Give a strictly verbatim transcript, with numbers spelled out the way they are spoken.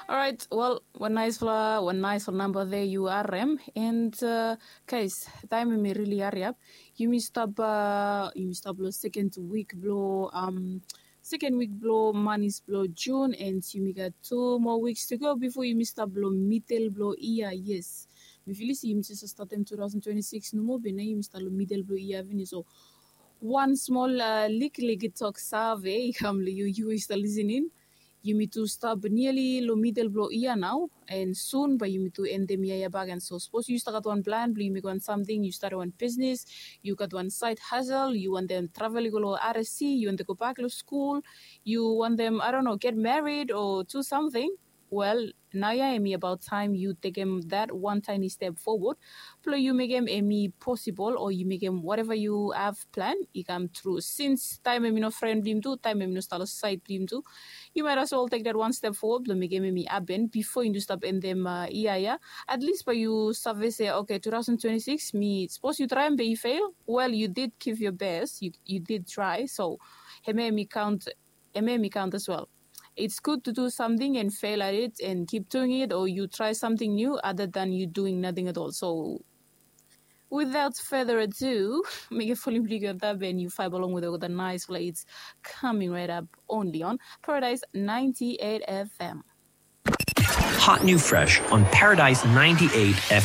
Alright, wel, wan naisfala wan naisfala namba de yu harem. And uh, guys, taim em i rili hariap. Yumi stap uh, yumi stap lo second week blo um, second week blo manis blo June, and yumi gat two more weeks to go before yumi stap lo middle blo ia. Yes, mi filis yumi just startem two thousand twenty-six nomo, be na yumi stap lo middle blo ia finis. So wan small uh, likiliki tok save i kam lo yu, yu i stap listening. Yumi tu stap niali lo middle blo ia nao, and soon bae yumi tu endem ia ia bagen. So sapos yu stap gat wan plan blo yu mekem wan samting, yu start wan business, yu gat wan side hustle, yu wantem travel i go lo RSC, yu wantem go bak lo skul, yu wantem, I don't know, get married or do something. Wel, naoia em i about time yu tekem that one tiny step forward blo yu mekem em i possible, o yu mekem whatever yu have plan i kam tru. Since taim em i no fren blo yumi tu, taim em i no stap lo side blo yumi tu, you might as well take that one step forward blo mekem em i happen before yu stap endem uh, ia ia. At least bae yu save se, okay, two thousand twenty-six mi, sapos yu traem be i fail, well, you did give your best, you, you did try. So hemia em i count, hemia em i count as well. It's good to do something and fail at it and keep doing it, or you try something new other than you doing nothing at all. So without further ado, mekem volim blo yu i go antap and yu vibe along with the nice flights coming right up only on Paradise ninety-eight F M. Hot new fresh on Paradise ninety-eight F M.